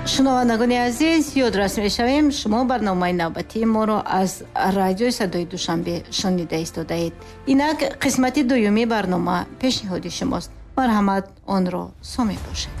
Шунавандагони азиз, ёдрас мешавем, шумо барномаи навбатии моро аз радиои садои Душанбе шунида истодаед. Инак қисмати дуюми барнома пешниҳоди шумост. Марҳамат, онро сомӣ бошед.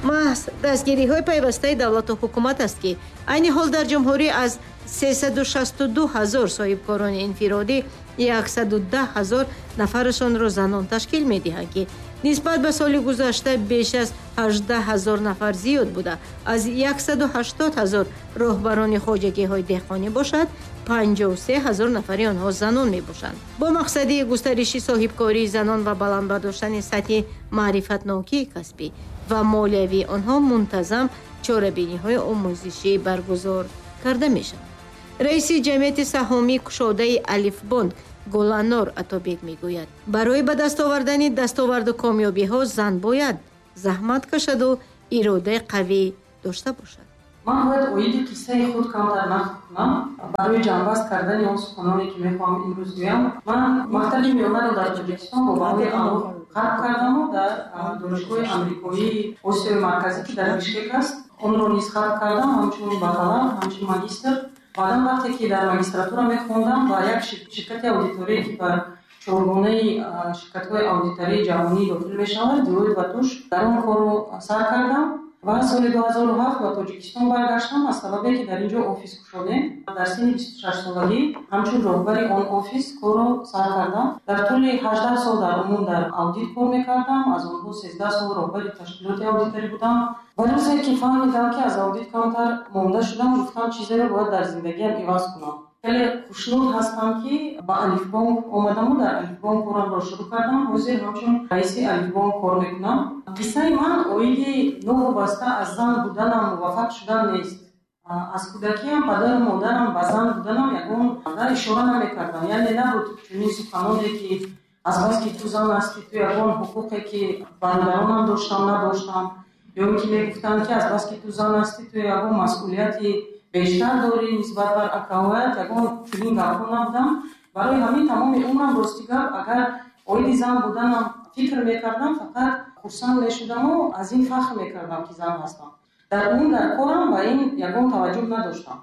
Маҳз дастгириҳои пайвастаи давлату ҳукумат аст, ки айни ҳол дар ҷумҳурӣ аз 362 ҳазор соҳибкорони инфиродӣ 110 ҳазор нафарашонро занон ташкил медиҳанд, ки нисбат ба соли гузашта беш аз 18 ҳазор нафар зиёд буда, аз 180 ҳазор роҳбарони хоҷагиҳои деҳқонӣ бошад, 53 ҳазор нафари онҳо занон мебошанд. Бо мақсади густариши соҳибкории занон ва баланд бардоштани сатҳи маърифатнокии касбӣ ва молиявии онҳо мунтазам чорабиниҳои омӯзишӣ баргузор карда мешаванд. Раиси ҷамъияти саҳомии кушодаи Алифбонк Гуланор Атобек мегӯяд, барои ба даст овардани дастоварду комёбиҳо зан бояд заҳмат кашаду иродаи қавӣ дошта бошад. Ман бояд оиди қиссаи худ камтар нақл кунам барои ҷамъбаст кардани он суханоне, ки мехоҳам имрӯз гӯям. Ман мактаби миёнаро дар Тоҷикистон бо баҳои аъло хатм кардаму дар Донишгоҳи Амрикоии Осиёи Марказӣ, ки дар Бишкек аст, онро низ хатм кардам, ҳамчун бакалавр, ҳамчун магистр. Баъдан вақте ки дар магистратура мехондам, ба як ширкати аудиторие, ки ба чоргонаи ширкатҳои аудитории ҷаҳонӣ дохил мешавад, Делойт ва Туш, дар он корро сар кардам ва соли 2007 ба Тоҷикистон баргаштам, аз сабабе ки дар ин ҷо офис кушодем. Дар синни 26-солагӣ ҳамчун роҳбари он офис корро сар кардам. Дар тӯли 18 сол дар умум дар аудит кор мекардам, аз онҳо 13 сол роҳбари ташкилоти аудиторӣ будам. Ва рӯзе ки фаҳмидам, ки аз аудит камтар монда шудам, гуфтам, чизеро бояд дар зиндагиам иваз кунам. Хеле хушнуд ҳастам, ки ба Алифбонк омадаму дар Алифбонк корамро шурӯъ кардам. Ҳозир ҳамчун раиси Алифбонк кор мекунам. Қиссаи ман оиди новобаста аз зан буданам муваффақ шудан нест. Аз кӯдакиам падару модарам ба зан буданам ягон ишора намекардам. Яъне набуд чунин суханоне, ки азбаски ту зан ҳастӣ, ту ягон ҳуқуқе, ки бародаронам доштам, надоштам, ё ин ки мегуфтанд, ки азбаски ту зан ҳастӣ, ту ягон масъулияти бештар дорӣ нисбат бар акаҳоят. Ягон чунин гапҳо набудам. Барои ҳамин тамоми умрам, рости гап, агар оиди зан буданам фикр мекардам, фақат хурсанд мешудаму аз ин фахр мекардам, ки зан ҳастам. Дар умум дар корам ба ин ягон таваҷҷӯҳ надоштам.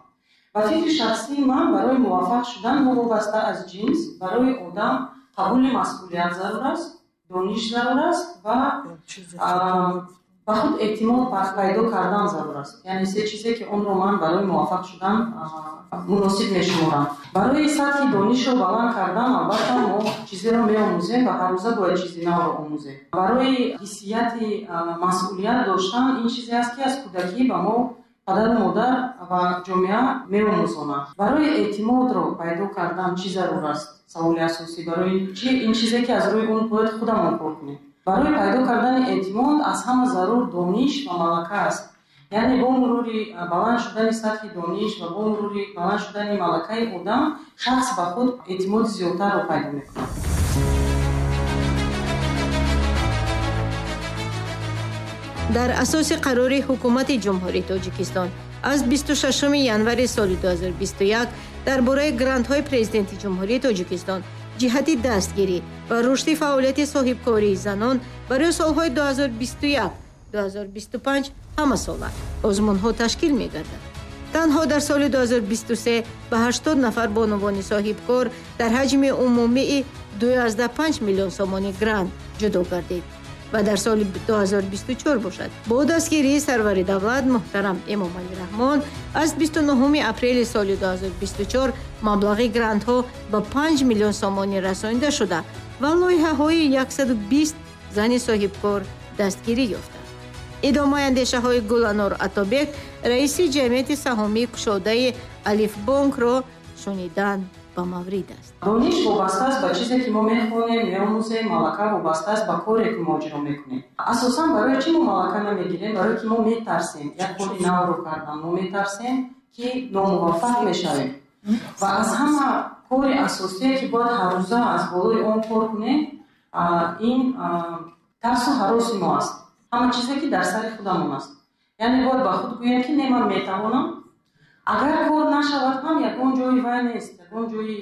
Ба фикри шахсии ман, барои муваффақ шудан новобаста аз ҷинс, барои одам қабули масъулият зарур аст, дониш зарур аст ва ба худ эътимод пайдо кардан зарур аст. Яъне се чизе, ки онро ман барои муваффақ шудан муносиб мешуморам. Барои сатҳи донишро баланд кардан, албатта, мо чизеро меомӯзем ва ҳаррӯза бояд чизи навро омӯзем. Барои ҳиссияти масъулият доштан, ин чизе аст, ки аз кӯдакӣ ба мо падару модар ва ҷомеа меомӯзонанд. Барои эътимодро пайдо кардан чӣ зарур аст? Саволи асосӣ. Барои чи ин чизе, ки аз рӯи он бояд худамон кор кунем. Барои пайдо кардани эътимод аз ҳама зарур дониш ва малака аст. Яъне бо мурури баланд шудани сатҳи дониш ва бо мурури баланд шудани малакаи одам, шахс ба худ эътимоди зиёдтарро пайдо мекунад. Дар асоси қарори ҳукумати Ҷумҳурии Тоҷикистон аз 26 январи соли 2021 дар бораи грантҳои Президенти Ҷумҳурии Тоҷикистон ҷиҳати дастгирӣ ва рушди фаъолияти соҳибкории занон барои солҳои 2021-2025 ҳамасола озмунҳо ташкил мегардад. Танҳо дар соли 2023 ба 80 нафар бонувони соҳибкор дар ҳаҷми умумии 2,5 миллион сомонӣ грант ҷудо гардид ва дар соли 2024 бошад, бо дастгирии сарвари давлат муҳтарам Эмомалӣ Раҳмон аз 29 апрели соли 2024 маблағи грантҳо ба 5 миллион сомонӣ расонида шуда ва лоиҳаҳои 120 зани соҳибкор дастгирӣ ёфтанд. Идомаи андешаҳои Гуланор Атобек, раиси ҷамъияти саҳомии кушодаи Алифбонкро шунидан ба маврид аст. Дониш вобаста аст ба чизе, ки мо мехонем, меомӯзем, малака вобаста аст ба коре, ки мо иҷро мекунем. Асосан барои чӣ мо малака намегирем? Барое ки мо метарсем як кори навро кардан, мо метарсем, ки номуваффақ мешавем. Ва аз ҳама кори асосие, ки бояд ҳаррӯза аз болои он кор кунем, ин тарсу ҳароси мо аст, ҳама чизе, ки дар сари худамон аст. Яъне бояд ба худ гӯем, ки не, ман метавонам. Агар кор нашавад ҳам, ягон ҷои вай нест, ягон ҷои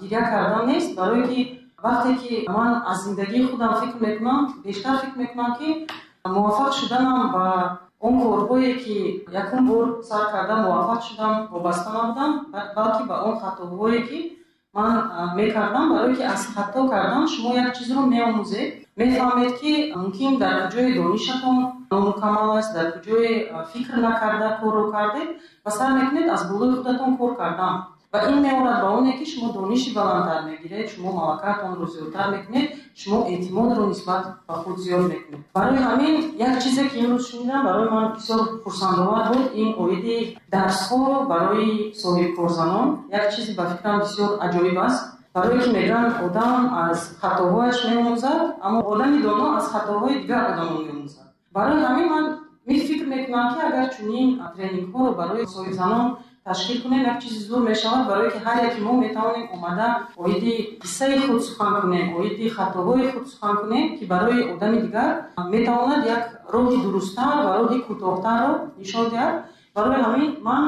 гиря кардан нест, барое ки Вақте ки ман аз зиндагии худам фикр мекунам, бештар фикр мекунам, ки муваффақ шуданам ба он корҳое, ки якум бор сар карда муваффақ шудам, вобаста набудам, балки ба он хатоҳое, ки ман мекардам. Барое ки аз хато кардан шумо як чизро меомӯзед, мефаҳмед, ки мумкин дар куҷои донишатон номукаммал аст, дар куҷое фикр накарда корро кардед ва сар мекунед аз болои худатон кор кардан. Ва ин меорад ба оне, ки шумо дониши баландтар мегиред, шумо малакаатонро зиёдтар мекунед, шумо эътимодро нисбат ба худ зиёд мекунед. Барои ҳамин як чизе, ки имрӯз шунидам, барои ман бисёр хурсандовар буд, ин оиди дарсҳо барои соҳибкорзанон. Як чизе ба фикрам бисёр аҷоиб аст, барое ки мегӯянд, одам аз хатоҳояш меомӯзад, аммо одами доно аз хатоҳои дигар одамон меомӯзад. Барои ҳамин ман фикр мекунам, ки агар чунин тренингҳоро барои соҳибзанон ташкил кунем, як чизи зур мешавад, барое ки ҳар яки мо метавонем омада оиди қиссаи худ сухан кунем, оиди хатоҳои худ сухан кунем, ки барои одами дигар метавонад як роҳи дурусттар ва роҳи кӯтоҳтарро нишон диҳад. Барои ҳамин ман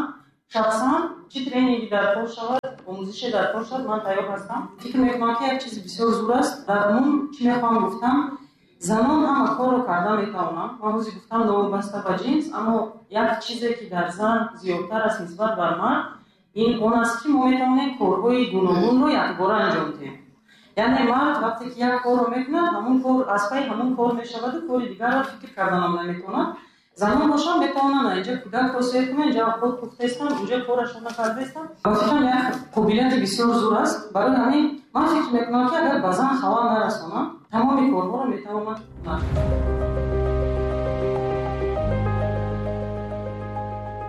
шахсан, чӣ тренинги дар кор шавад, омӯзише дар кор шавад, ман тайёр ҳастам. Фикр мекунам, ки як чизи бисёр зур аст. Дар умум чӣ мехоҳам гуфтам: занон ҳама корро карда метавонанд. Ман ҳозир гуфтам, новобаста ба ҷинс, аммо як чизе, ки дар зан зиёдтар аст нисбат бар мард, ин он аст, ки мо метавонем корҳои гуногунро якбора анҷом диҳем. Яъне мард вақте ки як корро мекунад, ҳамун кор аз пайи ҳамун кор мешаваду кори дигарро фикр карданам наметавонад. Занон бошанд, метавонанд инҷа кӯдакро сер кунанд, инҷа худ пухтаистанд, инҷа корашонро кардаистанд. Ба фикрам, як қобилияти бисёр зур аст. Барои ҳамин ман фикр мекунам, ки агар ба зан халал нарасонам, тамоми корҳоро метавонад кунад.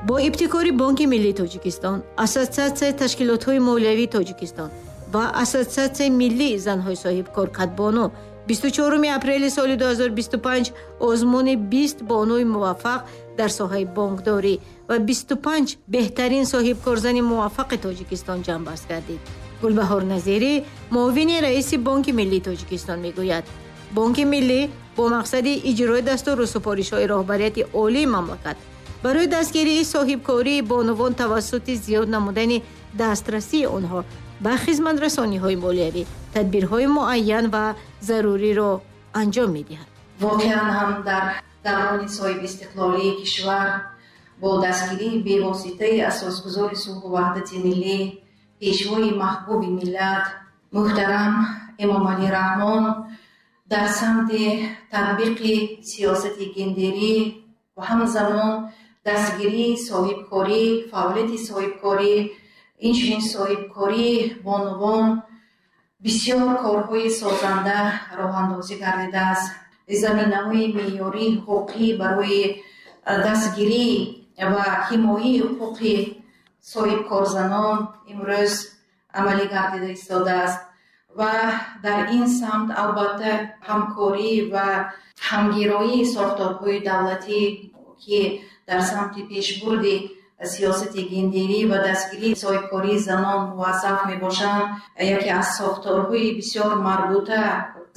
Бо ибтикори Бонки миллии Тоҷикистон, Ассотсиатсияи ташкилотҳои молиявии Тоҷикистон ва Ассотсиатсияи миллии занҳои соҳибкор «Кадбону» 24 апрели соли 2025 озмуни 20 бонуи муваффақ дар соҳаи бонкдорӣ ва 25 беҳтарин соҳибкорзани муваффақи Тоҷикистон ҷамъбаст гардид. Гулбаҳор Назирӣ, муовини раиси Бонки миллии Тоҷикистон, мегӯяд, Бонки миллӣ бо мақсади иҷрои дастуру супоришҳои роҳбарияти олии мамлакат барои дастгирии соҳибкории бонувон тавассути зиёд намудани дастрасии онҳо ба хизматрасониҳои молиявӣ тадбирҳои муайян ва заруриро анҷом медиҳад. Воқеан ҳам, дар даврони соҳибистиқлолии кишвар бо дастгирии бевоситаи асосгузори сулҳу ваҳдати миллӣ, пешвои маҳбуби миллат муҳтарам Эмомалӣ Раҳмон дар самти татбиқи сиёсати гендерӣ ва ҳамзамон дастгирии соҳибкорӣ, фаъолияти соҳибкорӣ, инчунин соҳибкории бонувон бисёр корҳои созанда роҳандозӣ гардидааст. Заминаҳои меъёрии ҳуқуқӣ барои дастгирӣ ва ҳимояи ҳуқуқи соҳибкорзанон имрӯз амалӣ гардида истодааст ва дар ин самт албатта ҳамкорӣ ва ҳамгироии сохторҳои давлатӣ, ки дар самти пешбурди сиёсати гендерӣ ва дастгирии соҳибкории занон муваззаф мебошанд, яке аз сохторҳои бисёр марбута,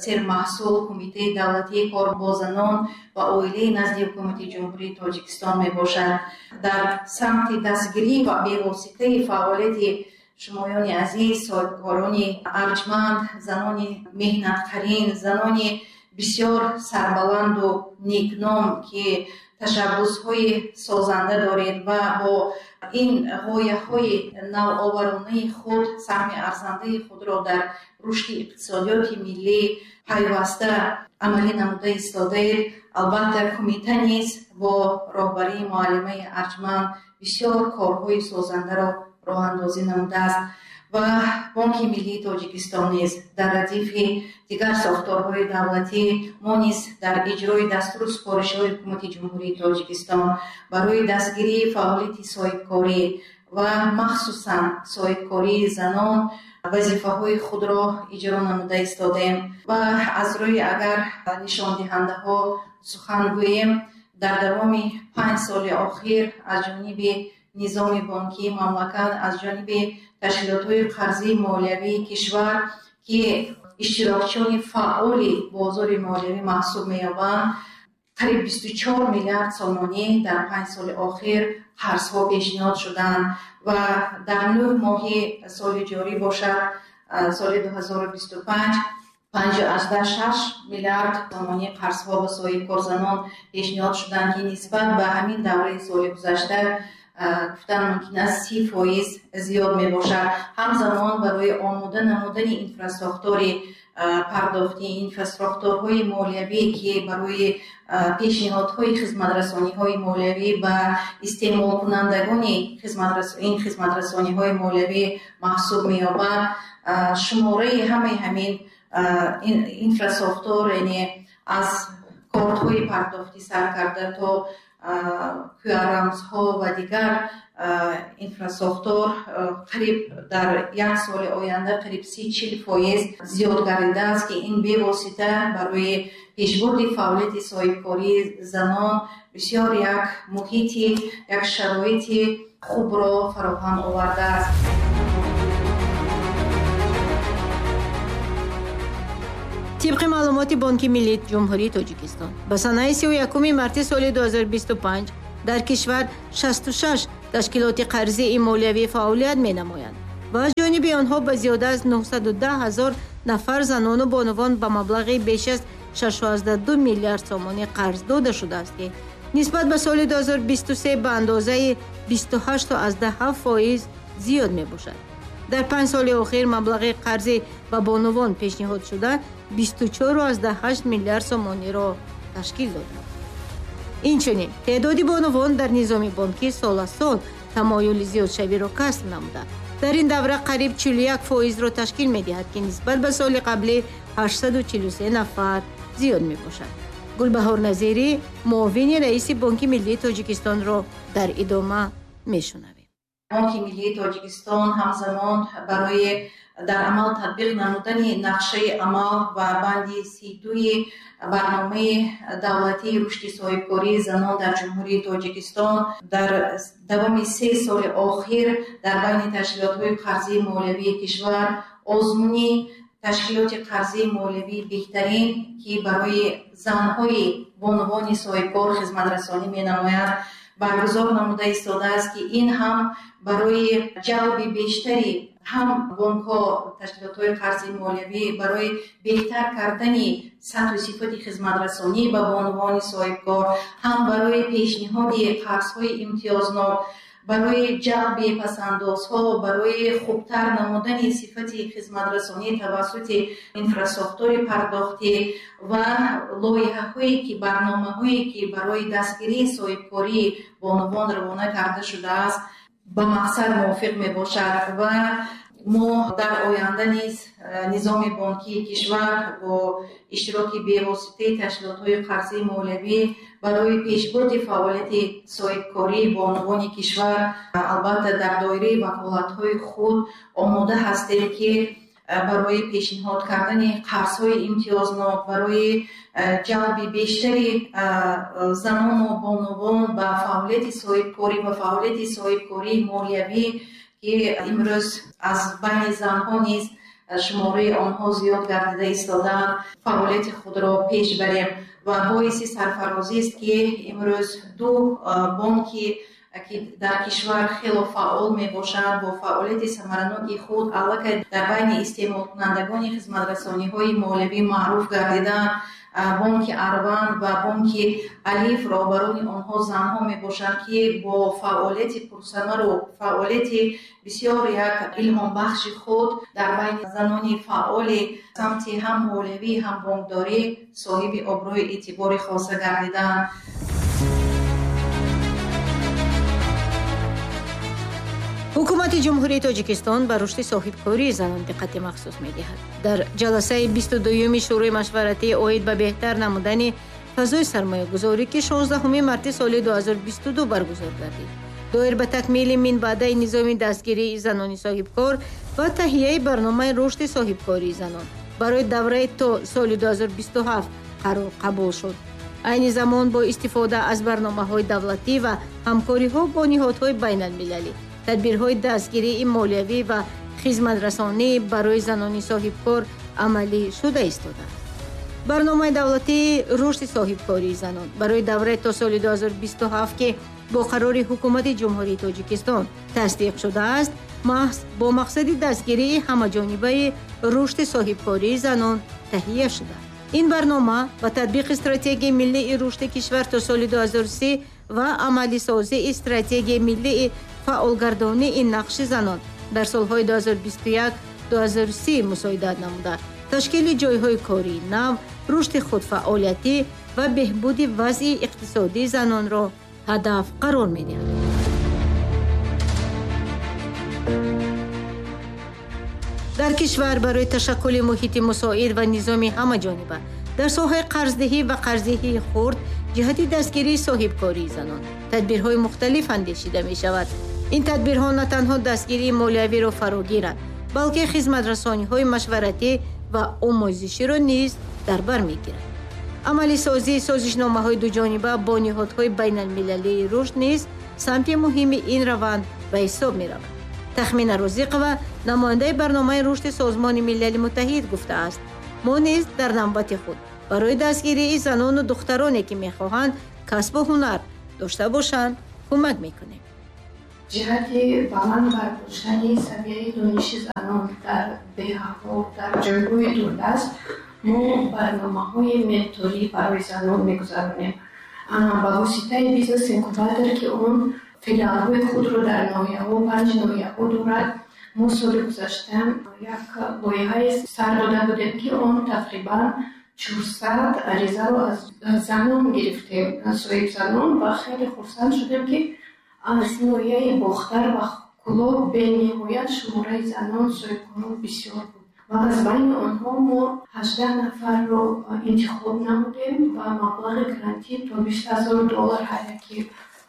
сермаҳсул Кумитаи давлатии кор бо занон ва оилаи назди Ҳукумати Ҷумҳурии Тоҷикистон мебошад. Дар самти дастгирӣ ва бевоситаи фаъолияти шумоёни азиз, соҳибкорони арҷманд, занони меҳнатқарин, занони бисёр сарбаланду некном, ки ташаббусҳои созанда доред ва бо ин ғояҳои навоваронаи худ саҳми арзандаи худро дар рушди иқтисодиёти миллӣ пайваста амалӣ намуда истодаед, албатта кумита низ бо роҳбарии муаллимаи арҷманд бисёр корҳои созандаро роҳандозӣ намудааст ва Бонки миллии Тоҷикистон низ дар радифи дигар сохторҳои давлатӣ мо низ дар иҷрои дастуру супоришҳои Ҳукумати Ҷумҳурии Тоҷикистон барои дастгирии фаъолияти соҳибкорӣ ва махсусан соҳибкории занон вазифаҳои худро иҷро намуда истодаем. Ва аз рӯи агар нишондиҳандаҳо сухан гӯем, дар давоми 5 соли охир аз ҷониби низоми бонкии мамлакат, аз ҷониби ташкилотҳои қарзии молиявии кишвар, ки иштирокчиёни фаъоли бозори молиявӣ маҳсуб меёбанд, қариб 24 миллиард сомонӣ дар 5 соли охир қарзҳо пешниҳод шуданд ва дар 9 моҳи соли ҷорӣ бошад, соли 2025 5,6 миллиард сомонӣ қарзҳо ба соҳибкорзанон пешниҳод шуданд, ки нисбат ба ҳамин давраи соли гузашта гуфтан мумкин аст 30% зиёд мебошад. Ҳамзамон барои омода намудани инфрасохтори пардохтӣ, инфрасохторҳои молиявӣ, ки барои пешниҳодҳои хизматрасониҳои молиявӣ ба истеъмолкунандагони ин хизматрасониҳои молиявӣ маҳсуб меёбад, шумораи ҳамаи ҳамин инфрасохтор, яъне аз кортҳои пардохтӣ сар карда то QR-рамзҳо ва дигар инфрасохтор, қариб дар як соли оянда қариб 30-40% зиёд гардидааст, ки ин бевосита барои пешбурди фаъолияти соҳибкории занон бисёр як муҳити, як шароити хубро фароҳам овардааст. Тибқи маълумоти Бонки Миллии Ҷумҳурии Тоҷикистон, ба санаи 31 марти соли 2025 дар кишвар 66 ташкилоти қарзии молиявӣ фаъолият менамоянд ва аз ҷониби онҳо ба зиёда аз 910 ҳазор нафар занону бонувон ба маблағи беш аз 6,2 миллиард сомонӣ қарз дода шудааст, ки нисбат ба соли 2023 ба андозаи 28,7% зиёд мебошад. Дар 5 соли охир маблағи қарзӣ ба бонувон пешниҳод шуда 24,8 миллиард сомониро ташкил доданд. Инчунин теъдоди бонувон дар низоми бонкӣ сол аз сол тамоюли зиёдшавиро касб намуда, дар ин давра қариб 41%-ро ташкил медиҳад, ки нисбат ба соли қаблӣ 843 нафар зиёд мебошад. Гулбаҳор Назирӣ, муовини раиси Бонки Миллии Тоҷикистонро дар идома мешунавем. Бонки Миллии Тоҷикистон ҳамзамон барои дар амал татбиқ намудани нақшаи амал ва банди 32 барномаи давлатии рушди соҳибкории занон дар Ҷумҳурии Тоҷикистон дар давоми 3 соли охир дар байни ташкилотҳои қарзии молиявии кишвар озмуни ташкилоти қарзии молиявии беҳтарин, ки барои занҳои бонувони соҳибкор хизматрасонӣ менамояд, баргузор намуда истодааст, ки ин ҳам барои ҷалби бештари ҳам бонкҳо, ташкилотҳои қарзии молиявӣ, барои беҳтар кардани сатҳу сифати хизматрасонӣ ба бонувони соҳибкор, ҳам барои пешниҳоди қарзҳои имтиёзнок, барои ҷалби пасандозҳо, барои хубтар намудани сифати хизматрасонӣ тавассути инфрасохтори пардохтӣ ва лоиҳаҳое ки барномаҳое ки барои дастгирии соҳибкории бонувон равона карда шудааст, ба мақсад мувофиқ мебошад. Ва мо дар оянда низ низоми бонкии кишвар бо иштироки бевоситаи ташкилотҳои қарзии молиявӣ барои пешбурди фаъолияти соҳибкории бонувони кишвар, албатта дар доираи ваколатҳои худ омода ҳастем, ки барои пешниҳод кардани қарзҳои имтиёзнок, барои ҷалби бештари занону бонувон ба фаъолияти соҳибкорӣ ва фаъолияти соҳибкории молиявӣ, ки имрӯз аз байни занҳо низ шумораи онҳо зиёд гардида истодаанд, фаъолияти худро пеш барем. Ва боиси сарфарозист, ки имрӯз ду бонки ки дар кишвар хело фаъол мебошанд, бо фаъолияти самараноки худ аллакай дар байни истеъмолкунандагони хизматрасониҳои молиявӣ маъруф гардидаанд, Бонки Арванд ва Бонки Алиф, роҳбарони онҳо занҳо мебошанд, ки бо фаъолияти пурсамару фаъолияти бисёр як илҳомбахши худ дар байни занони фаъоли самти ҳам молиявӣ, ҳам бонкдорӣ соҳиби обрӯи эътибори хоса гардидаанд. Ҳукумати Ҷумҳурии Тоҷикистон ба рушди соҳибкории занон диққати махсус медиҳад. Дар ҷаласаи 22-юми Шӯрои машваратӣ оид ба беҳтар намудани фазои сармоягузорӣ, ки 16 марти соли 2022 баргузор гардид, доир ба такмили минбаъдаи низоми дастгирии занони соҳибкор ва таҳияи барномаи рушди соҳибкории занон барои давраи то соли 2027 қарор қабул шуд. Айни замон бо истифода аз барномаҳои давлатӣ ва ҳамкориҳо бо ниҳодҳои байналмилалӣ, тадбирҳои дастгирии молиявӣ ва хизматрасонӣ барои занони соҳибкор амалӣ шуда истодааст. Барномаи давлатии рушди соҳибкории занон барои давраи то соли 2027, ки бо қарори Ҳукумати Ҷумҳурии Тоҷикистон тасдиқ шудааст, маҳз бо мақсади дастгирии ҳамаҷонибаи рушди соҳибкории занон таҳия шуда. Ин барнома ба татбиқи стратегияи миллии рушди кишвар то соли 2030 ва амалисозии стратегияи миллии фаъолгардонии нақши занон дар солҳои 2021-2030 мусоидат намуда, ташкили ҷойҳои кории нав, рушди худфаъолиятӣ ва беҳбуди вазъи иқтисодии занонро ҳадаф қарор медиҳад. Дар кишвар барои ташаккули муҳити мусоид ва низоми ҳамаҷониба дар соҳаи қарздиҳӣ ва қарздиҳии хурд ҷиҳати дастгирии соҳибкории занон тадбирҳои мухталиф андешида мешавад. Ин тадбирҳо на танҳо дастгирии молиявиро фаро гиранд, балки хизматрасониҳои машваратӣ ва омӯзиширо низ дар бар мегиранд. Амалисозии созишномаҳои дуҷониба бо ниҳодҳои байналмилалии рушд низ самти муҳими ин раванд ба ҳисоб меравад. Тахмина Розиқова, намояндаи барномаи рушди Созмони Милали Муттаҳид, гуфтааст: мо низ дар навбати худ барои дастгирии занону духтароне, ки мехоҳанд касбу ҳунар дошта бошанд, кӯмак мекунем. Ҷиҳати баланд бардоштани савияи дониши занон дар деҳаҳо, дар ҷойҳои дурдаст мо барномаҳои менторӣ барои занон мегузаронем. Ба воситаи бизнес-инкубатор, ки он филиалҳои худро дар ноҳияҳо, 5 ноҳияҳо дорад, мо соли гузашта як лоиҳае сар дода будем, ки он тақрибан 400 аризаро аз занон гирифтем, соҳибзанон, ва хеле хурсанд шудем, ки аз ноҳияи Бохтар ва Кӯлоб бениҳоят шумораи занон соҳибкорон бисёр буд ва аз байни онҳо мо 18 нафарро интихоб намудем ва маблағи грантӣ то $20,000 ҳар яке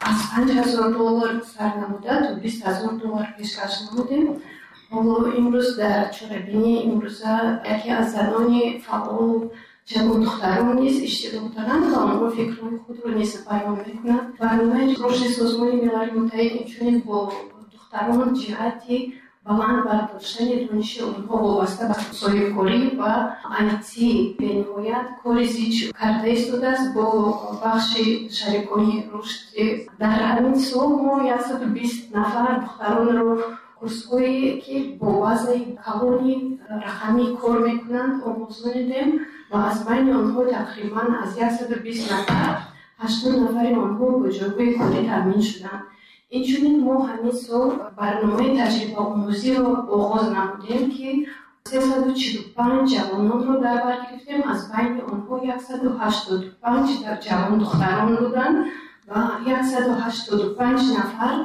аз $5,000 сар намуда то $20,000 пешкаш намудем. Ҳоло имрӯз дар чорабинии имрӯза яке аз занони фаъол ҷавондухтарон низ иштирок доранд ва онҳо фикрҳои худро низ баён мекунанд. Барномаи рушди Созмони Милали Муттаҳид инчунин бо духтарон ҷиҳати баланд бардоштани дониши онҳо вобаста ба соҳибкорӣ ва IT бениҳоят кори зич карда истодааст бо бахши шарикони рушди. Дар ҳамин сол мо 120 нафар духтаронро курсҳое, ки бо базаи калони рақамӣ кор мекунанд, омӯзонидем ва аз байни онҳо тақрибан аз 120 нафар 80 нафари онҳо бо ҷойҳои корӣ таъмин шуданд. Инчунин мо ҳамин сол барномаи таҷрибаомӯзиро оғоз намудем, ки 345 ҷавононро дар бар гирифтем. Аз байни онҳо 185 ҷавондухтарон буданд ва 185 нафар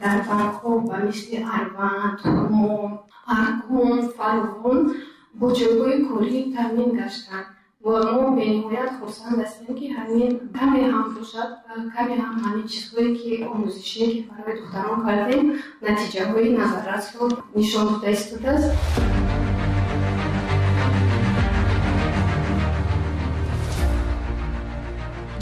дар бонкҳо ба мисли Арванд, Ҳумо, Аркон, Фарғон бо ҷойгоҳи корӣ таъмин гаштанд. Ва мо бениҳоят хурсанд ҳастем, ки ҳамин каме ҳам бошад, каме ҳам ҳамин чизҳое, ки омӯзишие, ки барои духтарон кардем, натиҷаҳои назаррасро нишон дода истодааст.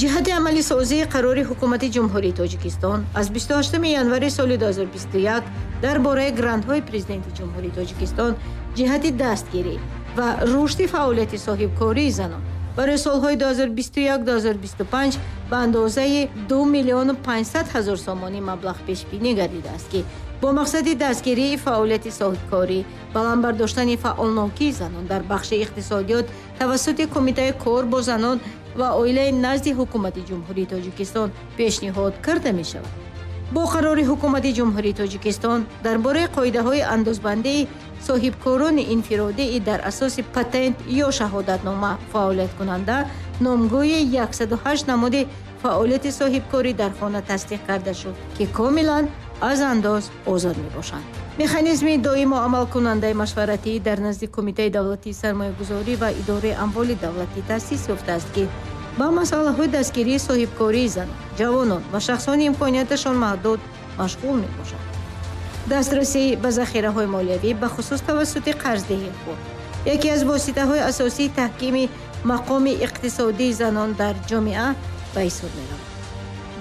Ҷиҳати амалисозии қарори Ҳукумати Ҷумҳурии Тоҷикистон аз 28 январи соли 2021 дар бораи грантҳои Президенти Ҷумҳурии Тоҷикистон ҷиҳати дастгирӣ ва рушди фаъолияти соҳибкории занон барои солҳои 2021-2025 ба андозаи 2 500 000 сомонӣ маблағ пешбинӣ гардидааст, ки бо мақсади дастгирии фаъолияти соҳибкорӣ, баланд бардоштани фаъолнокии занон дар бахши иқтисодиёт тавассути Кумитаи кор бо занон ва оилаи назди Ҳукумати Ҷумҳурии Тоҷикистон пешниҳод карда мешавад. Бо қарори Ҳукумати Ҷумҳурии Тоҷикистон дар бораи қоидаҳои андозбандии соҳибкорони инфиродии дар асоси патент ё шаҳодатнома фаъолияткунанда номгӯи 108 намуди фаъолияти соҳибкорӣ дар хона тасдиқ карда шуд, ки комилан аз андоз озод мебошанд. Механизми доимо амалкунандаи машваратӣ дар назди Кумитаи давлатии сармоягузорӣ ва идораи амволи давлатӣ таъсис ёфтааст, ки ба масъалаҳои дастгирии соҳибкории занон, ҷавонон ва шахсони имконияташон маҳдуд машғул мебошад. Дастрасӣ ба захираҳои молиявӣ, бахусус тавассути қарздиҳии худ, яке аз воситаҳои асосии таҳкими мақоми иқтисодии занон дар ҷомеа ба ҳисоб меравад.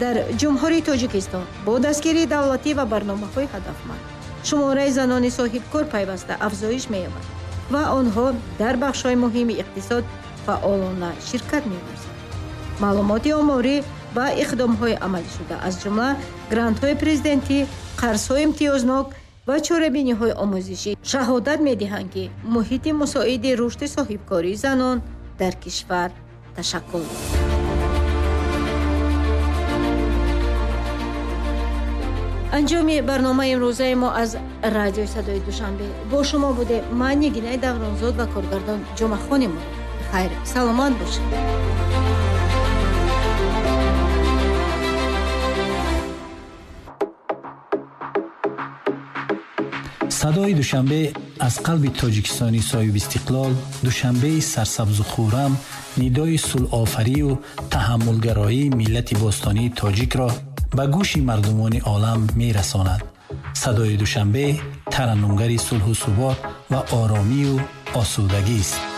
Дар Ҷумҳурии Тоҷикистон бо дастгирии давлатӣ ва барномаҳои ҳадафманд шумораи занони соҳибкор пайваста афзоиш меёбад ва онҳо дар бахшҳои муҳими иқтисод фаъолона ширкат меварзанд. Маълумоти оморӣ Ба иқдомҳои амалишуда, аз ҷумла грантҳои президентӣ, қарзҳои имтиёзнок ва чорабиниҳои омӯзишӣ шаҳодат медиҳанд, ки муҳити мусоиди рушди соҳибкории занон дар кишвар ташаккул. Анҷоми барномаи имрӯзаи мо аз радиои Садои Душанбе. Бо шумо будем ман, Нигинаи Давронзод, ва коргардон Ҷумъахони Мурод. Хайр, саломат бошед. Садои Душанбе аз қалби Тоҷикистони соҳибистиқлол, Душанбеи сарсабзу хуррам, нидои сулҳофарию таҳаммулгароии миллати бостонии тоҷикро ба гӯши мардумони олам мерасонад. Садои Душанбе тараннумгари сулҳу субот ва оромию осудагист.